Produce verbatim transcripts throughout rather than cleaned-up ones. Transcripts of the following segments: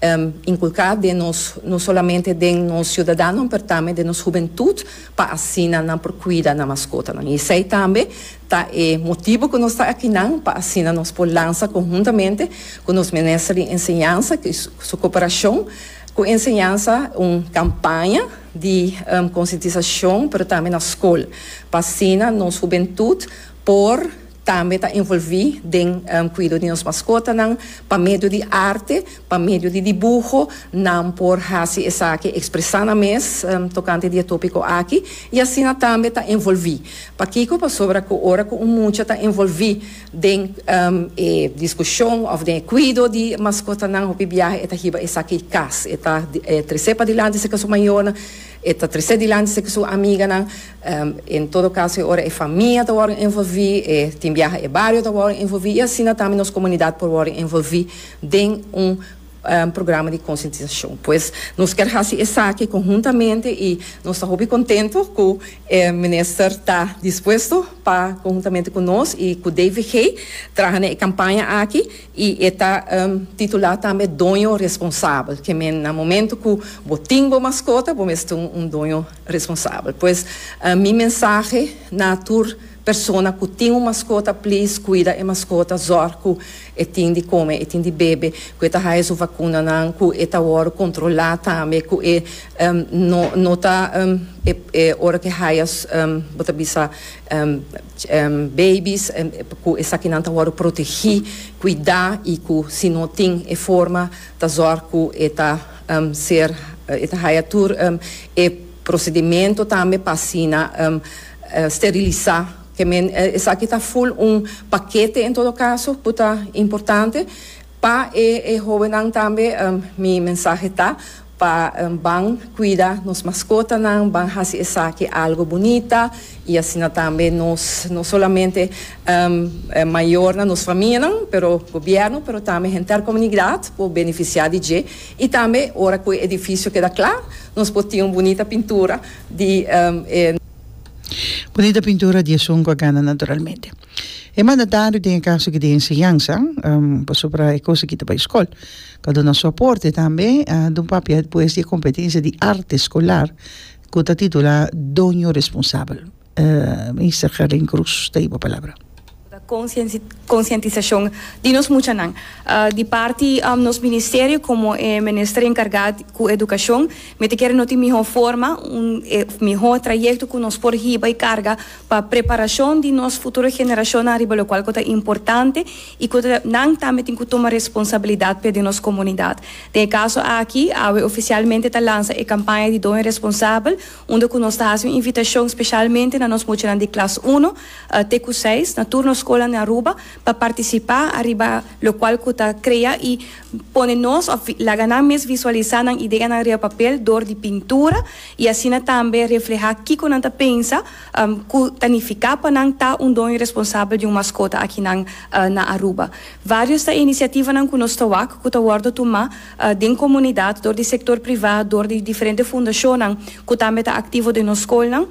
um, inculca den nos, no solamente den nos ciudadano, pero tambe den nos hubentud, pa asina nan por cuida nan mascota. Y esey tambe ta e motibo cu nos ta aki nan, pa asina nos por lansa conhuntamente cu nos minister di Enseñansa, cu su cooperacion cu enseñansa, un campaña di um, concientisacion, pero tambe na scol, pa asina nos hubentud por tambe ta envolvi den um, cuido di nos mascotanan, pa medio di arte, pa medio di dibuho, nan por hasi esaki, expresa nan mes um, tocante di e topico aki, y asina tambe ta envolvi. Pakico? Pasobra cu ora cu un mucha ta envolvi den um, e discusion of den cuido di mascotanan, hopi biaha e ta hiba esaki cas, e ta e, trece padilanti serca su mayornan, e ta trece dilanti serca su amiganan. um, en todo caso, ora e famia ta wordo envolvi, e tin biaha e bario ta wordo envolvi, y asina tambe nos comunidad por wordo envolvi den un un programa di concientisacion. Pues nos kier haci esaki conhuntamente y nos ta hopi contento cu e minister ta dispuesto pa conhuntamente cu nos y cu D V G traha e campaña aki, y ta um, titula tambe Doño Responsabel, kiermen na momento cu bo tin bo mascota, bo ta un, un doño responsabel. Pues uh, mi mensahe na tur persona cu tin un mascota: please, cuida e mascota, zorg cu e tin di come, e tin di bebe, cu e ta haya su vacunanan, cu e ta wordo controla tambe, cu e um, no, no ta um, e, e ora cu haya um, bo ta bisa um, um, babies, um, cu esakinan ta wordo protegi, cuida, y cu si no tin e forma, ta zorg cu e ta um, ser e ta haya tur um, e procedimento tambe pa asina um, uh, sterilisa. Kiermen, esaki ta full un pakete en todo caso, cu ta importante. Pa e, e hobennan tambe, um, mi mensahe ta pa um, ban cuida nos mascotanan, ban haci esaki algo bunita, y asina tambe nos, no solamente um, mayornan, nos famianan, pero gobierno, pero tambe henter comunidad por beneficia di dje. Y tambe, ora cu e edificio keda cla, nos por tin un bunita pintura di um, eh, Bunita pintura di esun cu a gana, naturalmente. E mandatario den caso di enseñansa, um, pasobra e cos aki ta pa scol, cu a duna su aporte tambe, uh, di un papia pues di competencia di arte escolar, cu ta titula Doño Responsabel. Uh, Minister Gerlien Croes, tin e palabra. Concientisacion di nos muchanan. Uh, di parti um, nos ministerio, como eh, minister encarga cu educacion, mi ta kere no tin miho forma, un eh, miho trayecto cu nos por hiba y carga pa preparacion di nos futuro generacion ariba locual ta importante y cu nan tambe tin cu tuma responsabilidad pa nos comunidad. Den e caso aki, awe oficialmente ta lansa e campaña di Doño Responsabel, unda cu nos ta haci un invitacion specialmente na nos muchanan di klas un, uh, te seis, na tur nos scol na Aruba, pa participa ariba locual cu ta crea y pone nos, laga nan mes visualisa nan idea na riba papel door di pintura y asina tambe refleha kico nan ta pensa um, cu ta nifica pa nan ta un doño responsabel di un mascota aki nan, uh, na Aruba. Varios ta iniciativanan cu nos ta wak, cu ta wordo tuma uh, den comunidad, door di sector priva, door di diferente fundacion cu tambe ta activo den nos scol.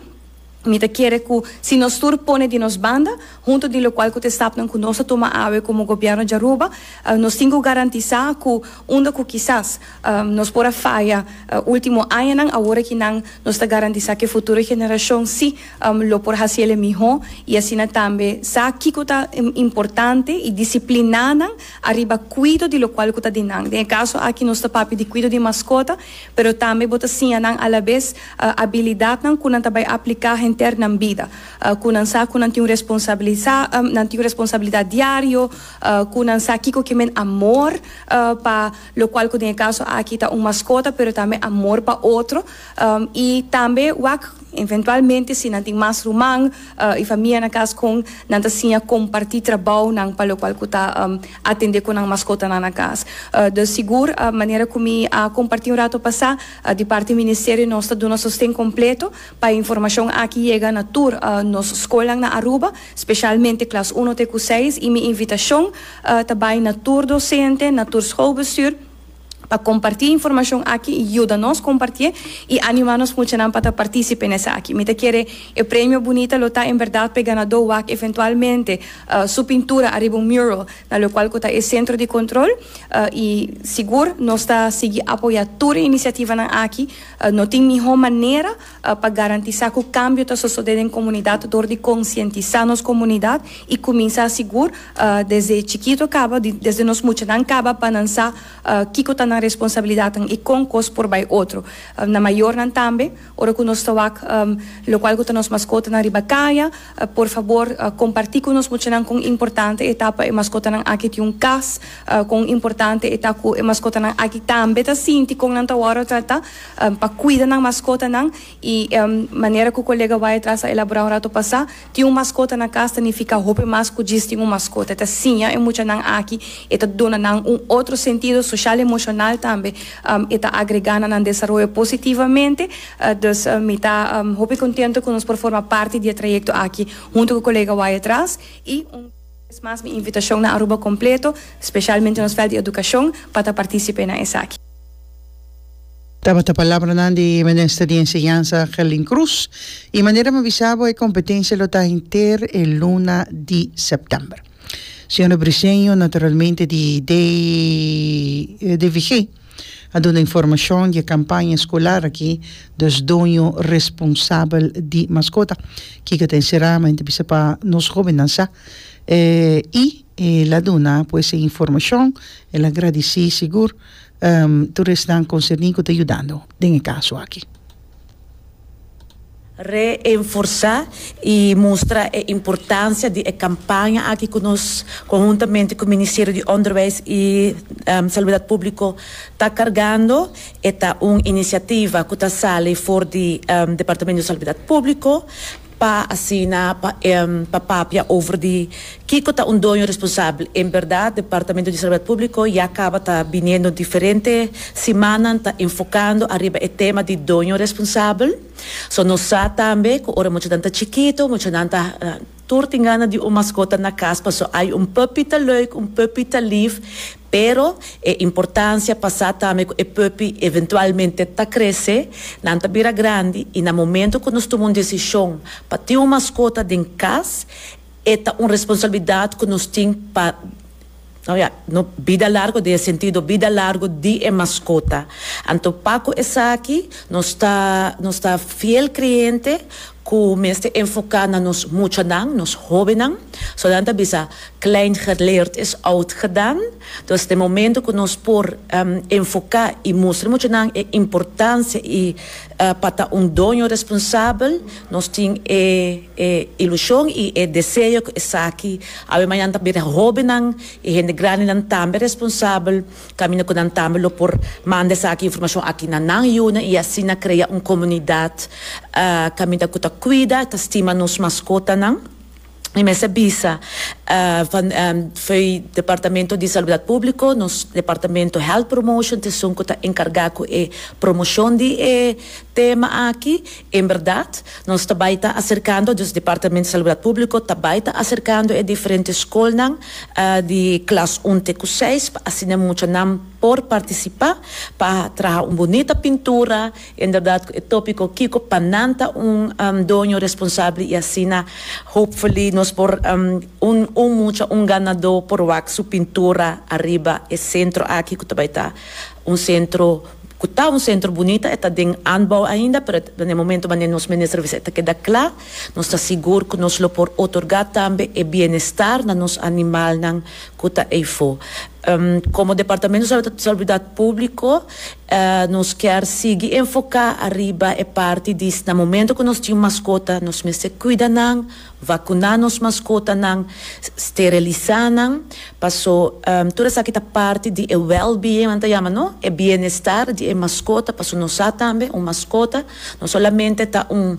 Mi ta kere cu si nos tur pone di nos banda, hunto di locual cu stapnan cu nos a tuma awe como gobierno di Aruba, uh, nos tin cu garantisa cu unda cu kisas um, nos por a faya uh, ultimo añanan, awor cu nan nos ta garantisa cu futuro generacion si um, lo por haci miho y asina tambe sa kico ta importante y disciplina nan ariba cuido di locual cu ta di nan. Den caso aki nos ta papia di cuido di mascota, pero tambe bo ta siña nan a la vez uh, habilidadnan cu nan ta bay aplica henter nan bida. Uh, cu nan sa cu nan tin responsabilidad, um, nan tin responsabilidad diario, uh, cu nan sa kico kiermen amor uh, pa locual cu den caso aki ta un mascota, pero tambe amor pa otro. Um, y tambe wak eventualmente si nan tin mas ruman uh, y famia na cas, con nan ta siña comparti trabounan pa locual cu ta um, atende cu nan mascota na cas. Uh, dus sigur, a manera cu mi a comparti un rato pasa, uh, di parti ministerio nos ta duna sosten completo pa e informacion aki yega na tur uh, nos scol na Aruba, specialmente klas un te seis, y mi invitacion uh, tambe na tur docente, na tur schoolbestuur. Pa comparti informacion aki y yuda nos comparti y anima nos muchanan pa participa den esaki. Mi ta kere e premio bunita lo ta en berdad pa ganado wak eventualmente uh, su pintura ariba un mural na locual ta e centro di control uh, y sigur nos ta sigui apoya tur iniciativa nan aki. uh, no tin miho manera uh, pa garantisa cu cambio ta sucede den comunidad door di concientisa nos comunidad y cuminsa sigur uh, desde chikito caba, desde nos muchanan caba, pa nan sa uh, kico ta nan responsabilidad y con cos por bay otro. Uh, na mayornan tambe, ora cu nos ta wak um, locual cu nos mascota nan riba caya, uh, por fabor, uh, comparti cu nos muchanan con importante e ta pa e mascota nan aki tin un cas, uh, con importante e ta cu e mascota nan aki tambe ta sinti con nan ta wordo trata, um, pa cuida nan mascota nan y um, manera cu e colega bay atras a elabora un rato pasa, tin un mascota na cas significa hopi mas cu djis tin un mascota. Ta siña e muchanan aki, e ta duna nan un otro sentido social emocional tambe, um, e ta agrega na nan desaroyo positivamente. uh, dus uh, mi ta um, hopi contento cu nos por forma parti di e trayecto aki hunto cu e colega bay atras y un mas mi invitacion na Aruba completo, especialmente nos veld di educacion, pa participa na esaki. Tabata palabra di Minister di Enseñansa Gerlien Croes. Y manera mi a bisa bo, e competencia lo ta henter e luna di september. Señor Briceño, naturalmente, di D V G, a duna informacion di campaña escolar aki, dus doño responsabel di mascota, cu ta sinceramente bisa pa nos hobennan sa. Eh, y el a duna pues informacion, el a gradici sigur um, tur esnan concerni cu ta yudando den e caso aki. Reforsa y mustra e importancia di e campaña aki cu nos, conhuntamente cu Ministerio di Onderwijs y um, Salubridad Publico, ta cargando. Ta un iniciativa cu ta sali for di um, Departamento di Salubridad Publico pa asina pa um, pa papia over di kico ta un doño responsabel. En berdad, Departamento di Salubridad Publico ya caba ta biniendo diferente siman ta enfocando ariba e tema di doño responsabel. So nos sa tambe cu ora muchanan ta chikito, muchanan ta uh, tur tin gana di un mascota na cas, paso ay, un puppy ta leuk, un puppy ta lief, pero e importancia pa sa tambe e puppy eventualmente ta crece, nan ta bira grandi y na momento cu nos tuma un decision pa tin un mascota den cas, e ta un responsabilidad cu nos tin pa, no, ja, no, bida largo den sentido bida largo di e mascota. Anto pa cu esaki, nos ta nos ta fiel creyente cu mester enfoca na nos muchanan, nos hobennan. So nan ta bisa, klein geleerd is oud gedaan. Dus den momento cu nos por um, enfoca y mustra muchanan e importancia y uh, pa ta un doño responsabel, nos tin e, e ilusion y e deseo cu esaki awe mañan ta bira hobennan y hende grandinan tambe responsabel, caminda cu nan tambe lo por manda esaki informacion aki na nan yiunan y asina crea un comunidad uh, caminda cu ta cuida, ta stima nos mascotanan. Y mester bisa uh, van um, Departamento di Salubridad Publico, nos Departamento Health Promotion, ta esun cu ta encarga cu e promocion di e tema aki. En berdad, nos tambe ta acercando, dus Departamento di Salubridad Publico tambe ta acercando e diferente scolnan uh, di klas un te seis, asina muchanan por participa, pa traha un bunita pintura, inderdaad, e topico kico pa nan ta un um, doño responsabel y asina, hopefully, nos por um, un, un mucha, un ganado por wak su pintura ariba e centro aki, cu tambe ta un centro cu ta un centro bunita, ta den aanbouw ainda, pero na momento wanneer nos minister ta keda cla, nos ta sigur cu nos lo por otorga tambe e bienestar na nos animalnan cu ta eyfo. Um, como Departamento di Salubridad Publico, uh, nos kier sigui enfoca ariba e parti di na momento cu nos tin mascota, nos mester cuida nan, vacuna nos mascotanan, steriliza nan, paso um, tur esaki ta parti di e well-being, nan ta yama, no? E bienestar di e mascota, paso nos sa tambe, un mascota, no solamente ta un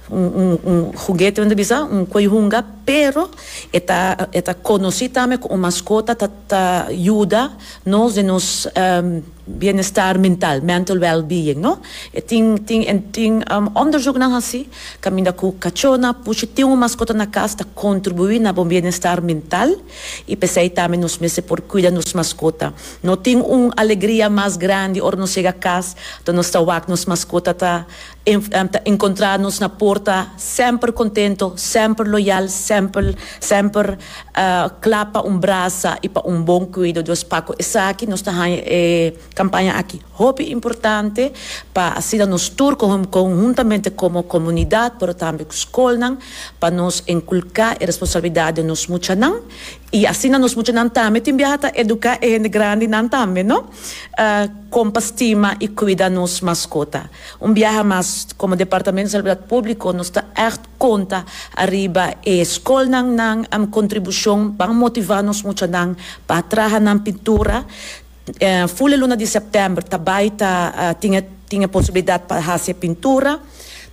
un, un, un juguete, nan ta bisa, un coy hunga, pero e ta e ta conoci tambe como mascota ta, ta yuda nos den nos um, Bienestar mental, mental well-being, no? E tin tin en tin um, onderzoeknan hasi, kaminda ku kachónan, pushi tin un maskota na kas ta kontribuí na bon bienestar mental i p'esei tambe nos mester por kuida nos maskota. No tin un alegria mas grandi ora nos yega kas, anto nos ta wak nos maskota ta ta enkontrá nos na porta semper kontentu, semper loyal, semper semper kla pa un brasa i pa un bon kuido. Dus pa ku esaki nos ta haña e kampaña aki hopi importante pa asina nos tur konhuntamente komo komunidat pero tambe ku skolnan pa nos inkulká e responsabilidat den nos muchanan i asina nos muchanan tambe tin biaha ta eduká e hende grandinan tambe no kon pa stima i kuida nos maskota. Un biaha mas komo Departamento di Salubridat Públiko nos ta ègt konta ariba e skolnan nan kontribushon ban motivá nos muchanan pa traha nan pintura. Ful e luna di sèptèmber ta bai ta tin e tin e posibilidat pa hasi e pintura.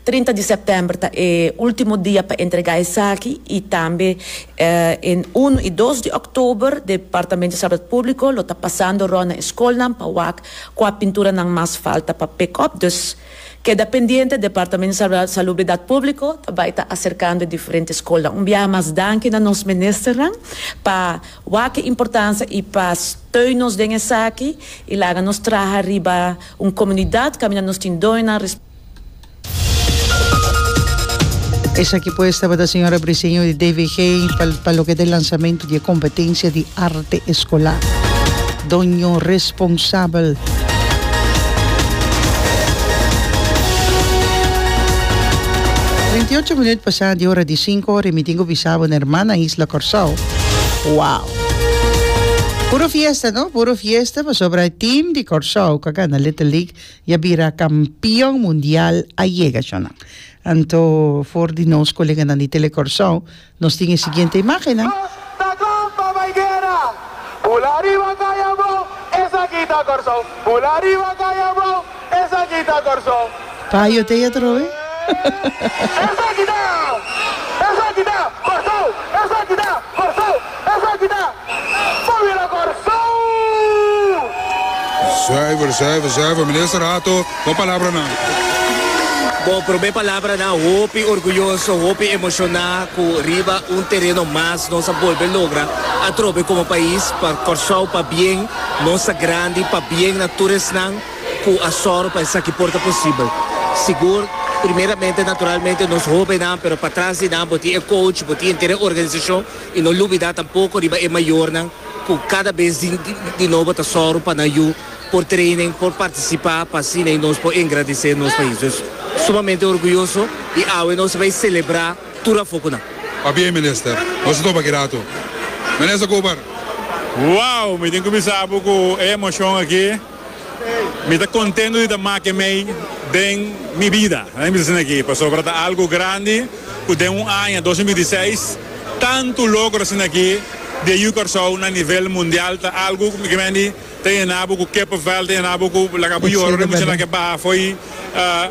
Trinta di sèptèmber ta e último dia pa entregá esaki i tambe en unu i dos di òktober Departamento di Salubridat Públiko lo ta pasando rònt na e skolnan pa wak kua pinturanan mas falta pa pick up. Dus keda pendiente, Departamento di Salubridat Públiko ta bai ta aserkando e diferente skolnan. Un biaha mas danki na nos ministernan pa wak e importansia i pa steun nos den esaki i laga nos traha riba un komunidat kaminda nos tin doñonan. Esaki pues tabata señora Briceño di D V G pa loke ta e lansamento di e competencia di arte escolar. Doño responsabel. Treinta i ocho minuut pasá di ora di sinku ora i mi tin ku bisa bo na hermana isla Kòrsou. Wow! Puro fiesta, no? Puro fiesta pasobra e team di Kòrsou ku a gana Little League i a bira kampion mundial a yega shonnan. Anto for di nos koleganan di Tele Kòrsou nos tin e siguiente imágennan. Nos ta kla pa bai guera. Bula riba kaya abou, esaki ta Kòrsou. Bula riba kaya abou, esaki ta Kòrsou. Payo te atrobe. Esaki ta, esaki ta Kòrsou, esaki ta Kòrsou, esaki ta Pabia Kòrsou! Zuiver, zuiver, zuiver. Minister Hato, bo palabranan. Bo promé palabranan, hopi orguyoso, hopi emoshoná ku riba un tereno mas nos a bolbe logra atrobe komo pais pa Kòrsou, pabien nos ta grandi, pabien na tur esnan ku a sòru pa esaki por ta posibel. Sigur, primeramente naturalmente nos hóbennan, pero patras di nan bo tin e coach, bo tin henter e organisashon i no lubidá tampoko riba e mayornan ku kada bes di di nobo ta sòru pa nan yu por training, por partisipá pa asina i nos por engrandesé nos pais. Dus sumamente orguyoso i awe nos ta bai selebrá tur afó ku nan. Pabien Minister. Nos ta topa ki rato. Minister Cooper. Wow! Mi tin ku bisa bo ku e emoshon aki mi ta kontento di ta make mei den mi bida. Mi bisa asina aki pasobra ta algu grandi ku den un aña dos mil binti seis tantu logro asina aki di e yu Kòrsou na nivel mundial ta algu ku mi ke mende ta yena bo ku kippenvel, ta yena bo ku laga bo yora ora e muchanan ke baha fo'i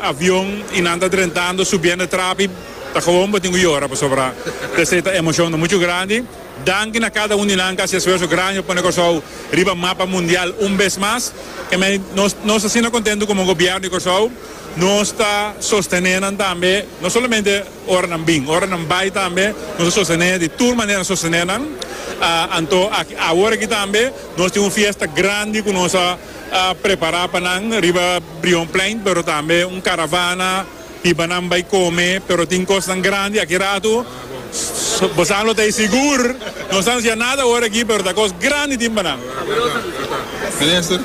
avion i nan ta drentando subiendo e trapi ta gewoon bo tin ku yora pasobra esei ta emoshon ta muchu grandi. Danki na kada un di nan ku a hasi esfuerso grandi pa pone Kòrsou riba mapa mundial un bes mas. Ke mei nos nos ta asina kontentu komo gobièrnu di Kòrsou. Nos ta sostené nan tambe, no solamente ora nan bin, ora nan bai tambe nos ta sostené, di tur manera nos sostené nan. Anto aki awor aki tambe nos tin un fiesta grandi ku nos a prepará pa nan riba Brionplein, pero tambe un karavana hiba nan bai kome, pero tin kosnan grandi aki ratu. Bosan lo ta ei sigur. No sa anuncia nada awor aki, pero ta cos grandi tin pa nan. Minister.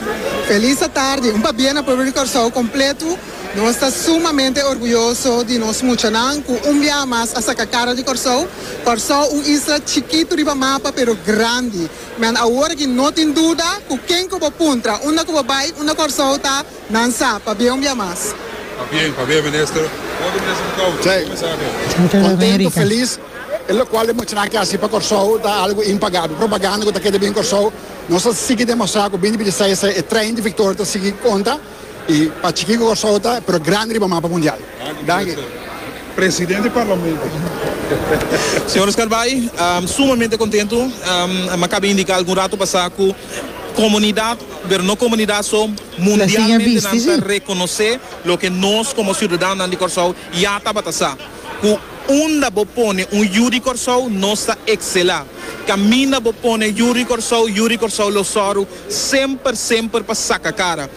Felis atardi. Un pabia na pueblo di Kòrsou kompletu. Nos ta sumamente orguyoso di nos muchanan ku un bia mas a saka kara di Kòrsou. Kòrsou un isla chikitu riba mapa pero grandi. Men awor aki no tin duda ku ken ku bo puntra unda ku bo bai unda Kòrsou ta, Nan sa, pabia un bia mas. Pabien, pabien minister. Otro minister di Kouw, Sí. un mensahe. Contento, feliz. E locual e muchanan ke haci pa Corsou ta algo impagabel. Propaganda cu ta keda bin Corsou, nos ta sigui demostra cu binti binti seis e trein di victoria ta sigui conta y pa chiki cu Corsou ta, pero grandi riba mapa mundial. Danki, Danki. minister. Presidente di Parlamento. Señor Scarbay, sumamente contento. Mi a caba indica algun rato pasa cu Komunidat, pero no komunidat so, mundialmente nan ta rekonosé loke nos komo siudadanonan di Kòrsou ya tabata sa, ku unda bo pone un yu di Kòrsou nos ta ekselá. Kaminda bo pone yu di Kòrsou, yu di Kòrsou lo sòru semper semper pa saka kara.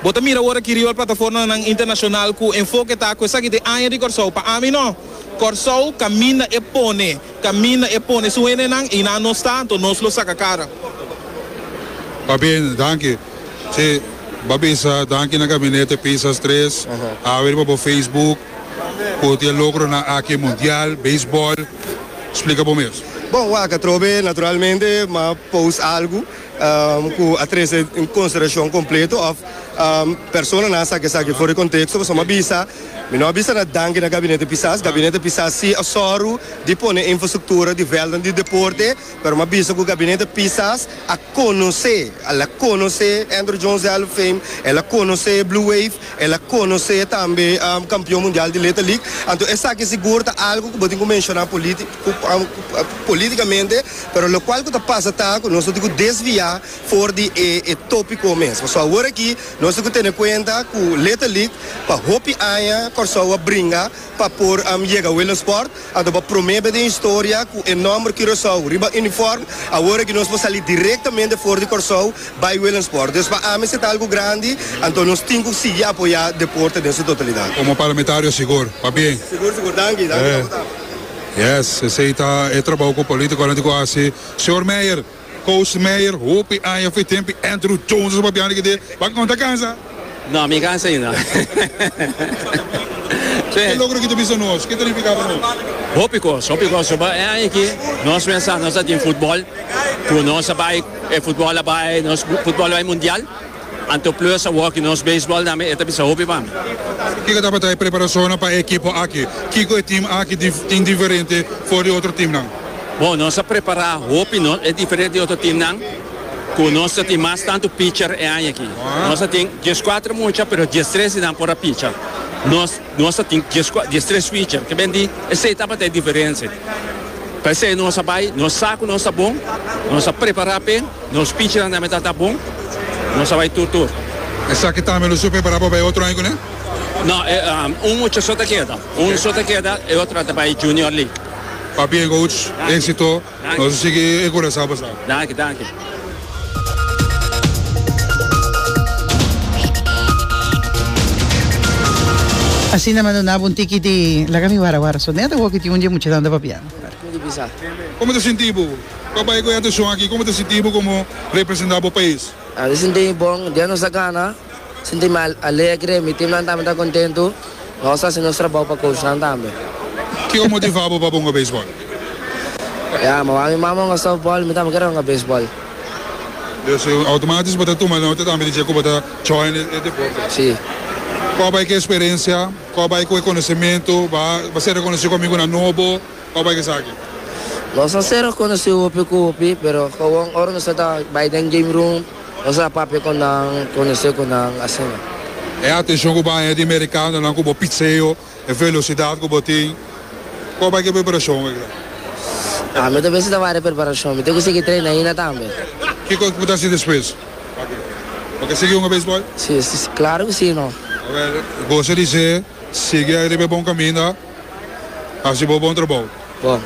Bo ta mira awor aki riba plataformanan internashonal ku enfoke ta ku esaki ta e aña di Kòrsou. Pa ami no. Kòrsou kaminda e pone, kaminda e pone su hendenan i nan nos ta, anto nos lo saka kara. Pabien, danki. Si, bo bisa danki na Gabinete Pisas tres, awe riba bo Facebook ku tin e logronan aki mundial, beisbòl. Splika bo mes. Bon, wak atrobe naturalmente m'a post algu ku a trese en konsiderashon kompleto òf personanan a saka esaki for di konteksto pasobra m'a bisa, mi no a bisa na danki na Gabinete Pisas. Gabinete Pisas si a sòru di pone infrastruktura di vèldnan di deporte, pero m'a bisa ku Gabinete Pisas a konosé, el a konosé Andruw Jones Hall of Fame, el a konosé Blue Wave, el a konosé tambe kampion mundial di Little League. Anto esaki sigur ta algu ku bo tin ku menshoná polítikamente, pero lokual ku ta pasa ta ku nos no tin ku desviá for di e tópiko mes. Pasobra awor aki nos tin ku tene kuenta ku Little League pa hopi aña Kòrsou a bringa pa por yega Willemsport, anto pa promé bes den historia ku e nòmber Curaçao riba uniform, awor aki nos por sali direktamente for di Kòrsou bai Willemsport. Dus pa ami esei ta algu grandi, anto nos tin ku sigui apoyá deporte den su totalidat. Komo parlamentario sigur, pabien. Sigur sigur, danki, danki pa bo tambe. Yes, esei ta e trabou ku politikonan tin ku hasi. Señor Meijer, Coach Meijer, hopi aña for e tempu Andruw Jones a papia antes kende, bo a konta kansa? No, mi cansa ainda. Ke logro ki ta bisa nos? Ke ta nifica pa nos? Hopi cos, hopi cos. Soba e aña aki nos mester nos a tin futbol cu nos a bay, e futbol a bay, nos futbol a bay mundial. Anto plus awor ki nos baseball tambe e ta bisa hopi pa mi. Kiko tabata e preparacionnan pa e ekipo aki? Kiko e team aki tin diferente for di otro teamnan? Bon, nos a prepara hopi, no, e diferente di otro teamnan. Ku nos ta tin mas tantu pitcher e aña aki. Nos ta tin dieskuater mucha pero diestres di nan por a picha. Nos nos ta tin diestres pitcher. Ke ben di esei tabata e diferensia. P'esei nos a bai, nos sa ku nos ta bon, nos a prepará p'e, nos pitchernan tambe ta ta bon, nos a bai tur tur. Esaki tambe lo su prepará pa bai otro aña kuné? No, un mucha so ta keda. Un so ta keda, e otro ta bai Junior League. Pabien coach, éxito. Nos a sigui e Curaçao pasá. Danki, danki. Asina m'a duna bo un tiki di laga mi wara wara so neta awor ki tin un di e muchanan ta papia. Como ta sinti bo? Bo a bai cu e atencion aki, como ta sinti bo como representa bo pais? Mi sinti mi bon, dia nos a gana, sinti mi alegre, mi teamnan tambe ta contento. Nos ta hasi nos trabou pa coachnan tambe. Kiko motiva bo pa hunga beisbòl? Ya, mi wak mi mama hunga softball, mi tambe kere hunga beisbòl. Dus automatis bo ta tuma nota tambe di dje ku bo ta join e deporte? Si. Kua bai ku e eksperensia? Kua bai ku e konosementu? Bo a ser rekonosí ku amigunan nobo? Kua bai ku esaki? Nos a ser rekonosí hopi ku hopi, pero gewoon ora nos ta bai den game room, Nos a papia ku nan, konosé ku nan, asina. E atenshon ku bo haña di merikanonan ku bo pitseo, e velosidat ku bo tin, kon bai ku e preparashon aki ta? Ah, mi ta pensa ta wak e preparashon. Mi tin ku sigui traina ainda tambe. Kiko ku bo ta hasi despues? Bo ke sigui hunga beisbòl? Si, si, klaro ku si, no. Awel, gosa di se, sigui ariba e bon kaminda, hasi bo bon trabou. Bon.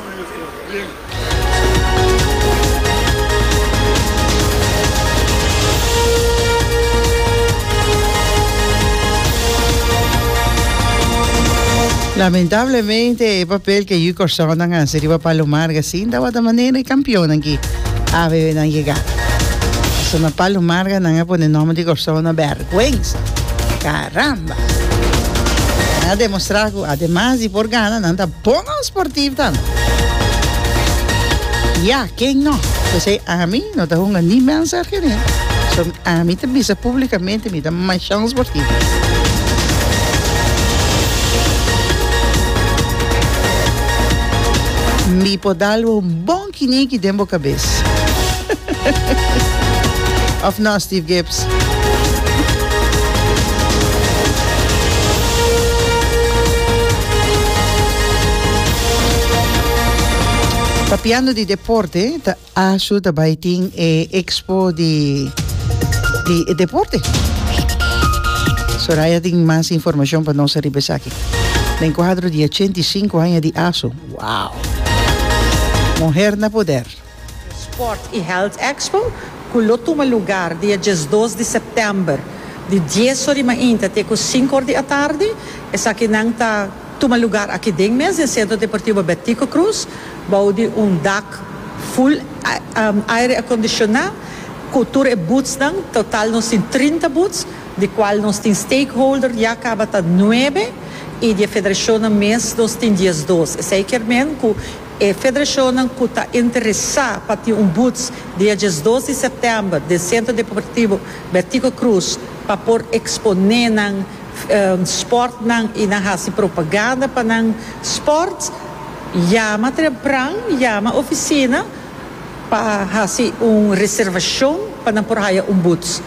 Lamentablemente e papel ke yu Kòrsounan hasi riba Palo Marga sin tabata manera e kampionnan ki a bebe nan yegada. Pasobra na Palo Marga nan a pone nòmber di Kòrsou na bèrgwensa. Karamba! Nan a demostrá ku ademas di por gana nan ta bon sportief tambe. Ya, ken no? P'esei ami no ta hunga ni mens argenero. So ami ta bisa publicamente mi ta masha un sportief. Mi por dal bo un bon kiniki den bo cabes. Of no, Steve Gibbs? Papiando di deporte, ta Asu ta bai tin e expo di Di e deporte. Soraya tin mas informacion pa nos riba esaki. Den cuadro di ochenta i sinku aña di ASO. Wow! Muher na poder. Sport y Health Expo cu lo tuma lugar dia diesdos di september di dies or di mainta te cu sinku or di atardi. Esakinan ta tuma lugar aki den mes den Centro Deportivo Betico Croes bou di un dak full aire acondiciona cu tur e boothsnan. Total nos tin trinta booths, di cual nos tin stakeholder ya caba ta nuebe y di e federacionnan mes nos tin diesdos. Esey kier men cu e federacionnan cu ta interesa pa tin un booth dia diesdos di september den Centro Deportivo Betico Croes pa por expone nan sportnan y nan haci propaganda pa nan sport, yama trempran, yama oficina pa haci un reservacion pa nan por haya un booth.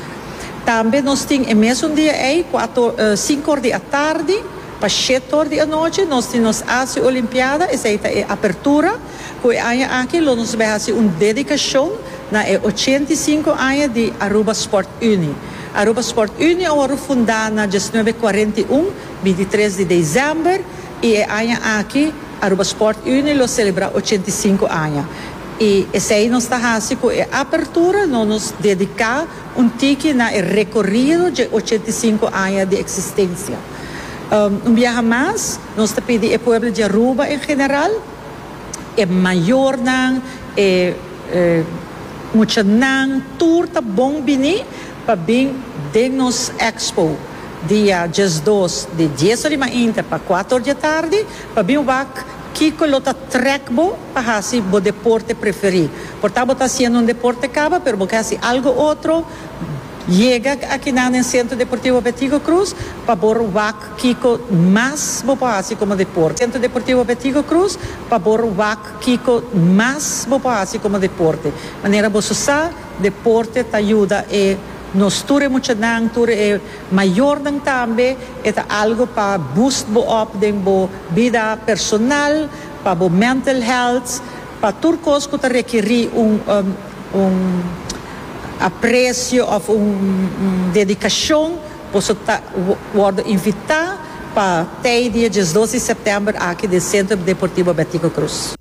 Tambe nos tin e mesun dia ey, cuatro, cinco or di atardi pa shete or di anochi, nos tin nos A C Olimpiada. Esey ta e apertura, cu e aña aki lo nos bay haci un dedicacion na e ochenta i sinku aña di Aruba Sport Unie. Aruba Sport Unie a wordo funda na diesnuebe cuarenta i un, bintitres di december, y e aña aki Aruba Sport Unie lo celebra ochenta i sinku aña. Y esey nos ta haci cu e apertura, no nos dedica un tiki na e recorido di ochenta i sinku aña di existencia. Um, un biaha mas, nos ta pidi e pueblo di Aruba en general, e mayornan, e, e muchanan, tur ta bon bini pa bin den nos expo dia diesdos di dies or di mainta pa kuater or di atardi, pa bin wak kico lo ta trek bo pa haci bo deporte preferi. Por ta bo ta haciendo un deporte caba, pero bo ke haci algo otro, yega aki na den Centro Deportivo Betico Croes pa por wak kico mas bo por haci como deporte. Centro Deportivo Betico Croes pa por wak kico mas bo por haci como deporte. Manera bo sa, deporte ta yuda e nos tur e muchanan, tur e mayornan tambe, e ta algo pa boost bo up den bo bida personal, pa bo mental health, pa tur cos cu ta requeri un, um, un aprecio of un, un dedicacion, boso ta wordo invita pa te dia diesdos di september aki den Centro Deportivo Betico Croes.